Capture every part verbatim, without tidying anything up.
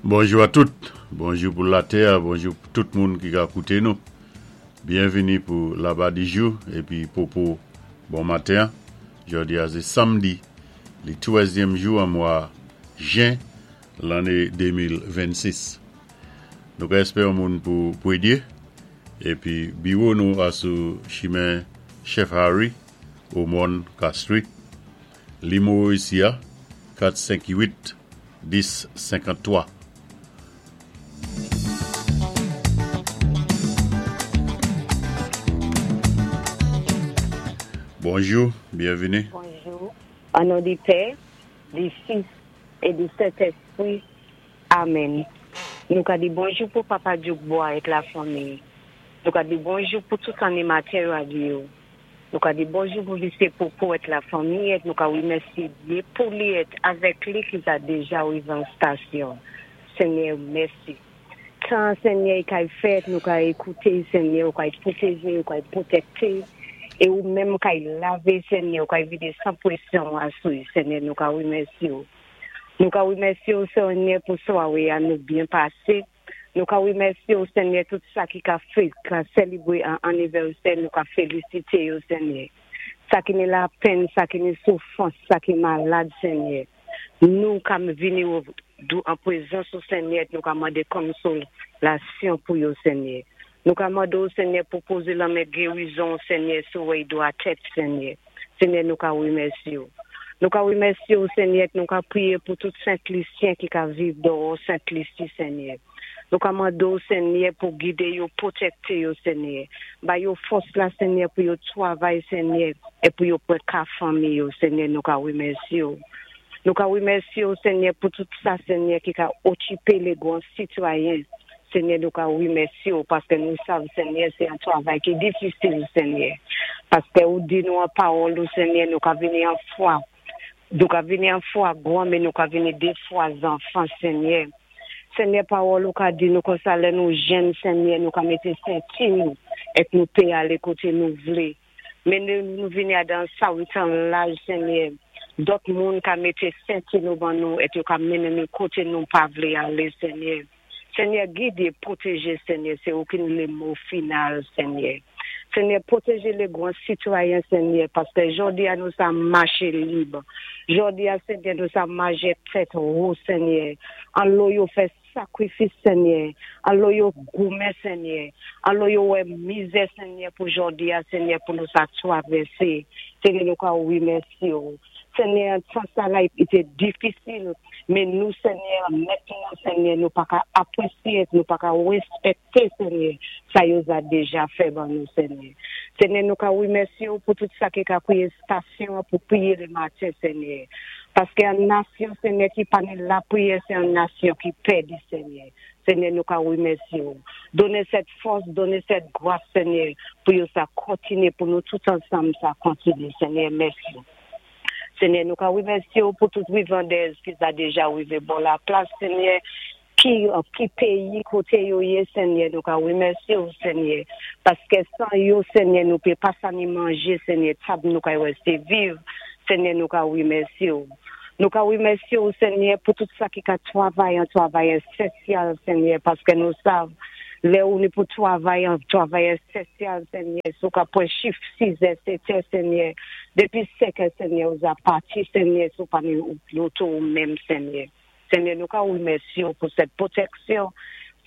Bonjou a tout, bonjou pou latè, bonjou pou tout moun ki ka kouté nou. Byenvini pou Laba Dijou épi Popo bon maten. Jòdi a sé samdi, li twèzyèm jou an mwa jen lanné de mil vennsis. Nou ka èspéwé moun pou pwédyé épi biwo nou a sou chimen Chef Harry o Mòn Castries. Nimewo isi a kat senk uit dis senkanntwa. Bonjou, byenvini. Bonjou. O non di Pè, di Fis é di Sentèspwi. Amèn. Nou ka di bonjou pou Papa Djoukbois ak la fanmi. Nou ka di bonjou pou tout animatè radyo. Nou ka di bonjou pou Misyé Popo ak la fanmi é nou ka wimèsyé Dye pou li èt avèk li ki a déja wivé an stasyon. Senyè, mèsi. Tan Senyè kay fèt, nou ka ékouté, Senyè, ou kay pwotéjé, ou kay pwotèkté, é ou menm kay lavé, Senyè, ou kay vidé san pwésyon asou, Senyè, nou ka wimèsyé ou. Nou ka wimèsyé ou, Senyè, pou swawé a nou byen pasé. Nou ka wimèsyé ou, Senyè, tout sa ki ka fè, ka sélébwé an anivèsè, nou ka félisité yo, Senyè. Sa ki ni lapenn, sa ki ni soufwans, sa ki malad, Senyè. Nou ka vini ou dou an pwézans ou, Senyè, nou ka mandé konsolasyon pou yo, Senyè. Nou ka mandé ou, Senyè, pou pozé lanmen gérizon, Senyè, sou wèy dwa tèt, Senyè. Senyè, nou ka wimèsyé ou. Nou ka wimèsyé ou, Senyè, nou ka priyé pou tout Sent Lisyen ki ka viv dòwò Sent Lisi, Senyè. Nou ka mandé ou, Senyè, pou gidé yo, pwotèkté yo, Senyè. Ba yo fòs la, Senyè, pou yo twavay, Senyè, é pou yo pwan ka fanmi yo, Senyè, nou ka wimèsyé ou. Nou ka wimèsyé ou, Senyè, pou tout sa, Senyè, ki ka okipé lé gwan sitwayen. Senyè, nou ka wimèsyé ou, paské nou sav, Senyè, sé an twavay ki difisil, Senyè. Paské ou di nou an pawòl ou, Senyè, nou ka vini an fwa. Nou ka vini an fwa gwan, men nou ka vini dé fwa zanfan, Senyè. Senyè, pawòl ou ka di nou konsa lè nou jèn, Senyè, nou ka mété senti nou, èt nou pé alé koté nou vlé. Men nou, nou vini adan sa witan laj, Senyè, dòt moun ka mété senti nou ban nou, èt yo ka mennen nou koté nou pa vlé alé, Senyè. Senyè, gidé, pwotéjé, Senyè, sé ou ki ni lé mo final, Senyè. Senyè, pwotéjé lé gwan sitwayen, Senyè, paské jòdi a nou sa maché lib. Jòdi a, Senyè, nou sa maché tèt wo, Senyè. An lò yo fè sakrifis, Senyè. An lò yo goumen, Senyè. An lò yo wè mizè, Senyè, pou jòdi a, Senyè, pou nou sa twavèsé. Senyè, nou ka wimèsyé ou. Senyè, tan sa la, i té difisil, men nou, Senyè, mentnan, Senyè, nou pa ka apwésyé, nou pa ka wéspèkté, Senyè, sa yo za déja fè ban nou, Senyè. Senyè, nou ka wimèsyé ou pou tout sa ki ka kwiyé stasyon pou priyé lé maten, Senyè. Paské an nasyon, Senyè, ki pa ni lapriyè, sé an nasyon ki pèdi, Senyè. Senyè, nou ka wimèsyé ou. Donné sèt fòs, donné sèt gwas, Senyè, pou yo sa kontiné, pou nou tout ansanm sa kontiné, Senyè, mèsi. Senyè, nou ka wimèsyé ou pou tout wivandèz ki sa déja wivé bò la plas, Senyè, ki, ki péyi koté yo yé, Senyè, nou ka wimèsyé ou, Senyè, paské san yo, Senyè, nou pé pa sa ni manjé, Senyè, tab nou ka wèsté viv, Senyè, nou ka wimèsyé ou. Nou ka wimèsyé ou, Senyè, pou tout sa ki ka twavay an twavay ésansyèl, Senyè, paské nou sav, lè ou ni pou twavay an twavay ésansyèl, Senyè, sou ka pwan chif sizè, sétè, Senyè, dépi senkè, Senyè, ou za pati, Senyè, sou pa ni loto ou menm, Senyè. Senyè, nou ka wimèsyé ou pou sèt pwotèksyon,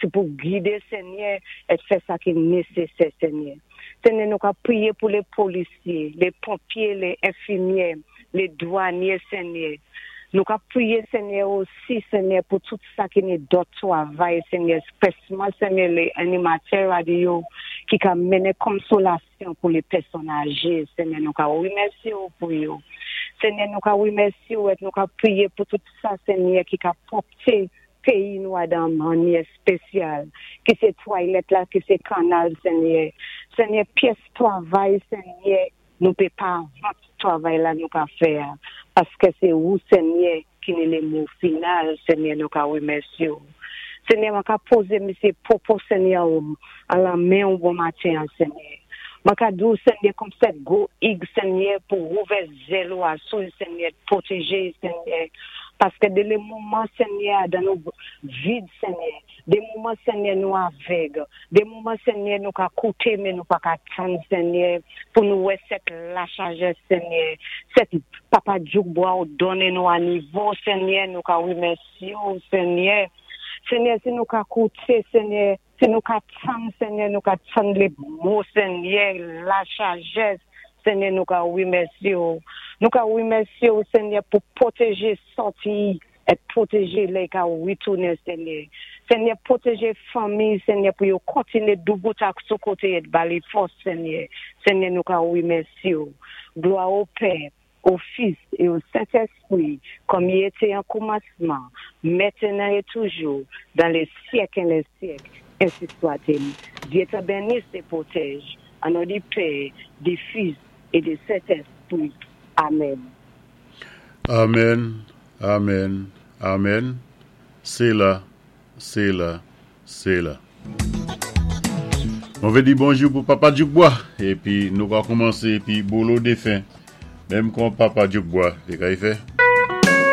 sé pou gidé, Senyè, é fè sa ki nésésè, Senyè. Senyè, nou ka priyé pou lé polisyé, lé ponpyé, lé enfimyè, lé dwanyé, Senyè. Nou ka priyé, Senyè, osi, Senyè, pou tout sa ki ni dòt twavay, Senyè, espèsman, Senyè, lé animatè radyo ki ka mennen konsolasyon pou lé pèsòn ajé, Senyè, nou ka wimèsyé ou pou yo. Senyè, nou ka wimèsyé ou, nou ka priyé pou tout sa, Senyè, ki ka pwòpté péyi nou adan mannyè spésyal, ki sé twalèt la, ki sé kannal, Senyè. Senyè, pyès twavay, Senyè, nou pé pa vant twavay la nou ka fè, paské sé ou, Senyè, ki ni lé mo final, Senyè, nou ka wimèsyé ou. Senyè, mwen ka pozé Misyé Popo, Senyè, ou, an lanmen ou bon maten, Senyè. Mwen ka di ou, Senyè, kòm sèt gwo ig, Senyè, pou ouvè zèl ou asou, Senyè, pwotéjé, Senyè. Paské dé lé moman, Ségnè, dan nou vid, Ségnè, dé moman, Ségnè, nou avèg, dé moman, Ségnè, nou ka kouté, men nou pa ka tann, Ségnè, pou nou wè sèt lasajès, Ségnè, sèt Papa Djoukbois ou donné nou a nivo, Ségnè, nou ka wimèsyé Ségnè. Ségnè, si nou ka kouté, Ségnè, si nou ka tann, Ségnè, nou ka tann lé mo, Ségnè, lasajès, Ségnè, nou ka wimèsyé Nou ka wimèsyé Ségnè, pou pwotéjé sòti é pwotéjé lè ka witounen, Ségnè. Ségnè, pwotéjé fanmi, Ségnè, pou yo kontiné doubout ak sou koté é ba li fòs, Ségnè. Ségnè, nou ka wimèsyé Glwa o Pè, o Fis é o Sentèspwi, kòm i été an koumansman, mentenan é toujou, dan lé syèk é lé syèk, ensi swa-t-il. Dye té bénis é pwotèj, an non di Pè, di Fis é di Sentèspwi. Amen. Amen, amen, amen. Séla, séla, séla. Mwen vé di bonjou pou Papa Djoukbois épi nou va koumansé épi Bolo défen. Menm kon Papa Djoukbois, té kay fè.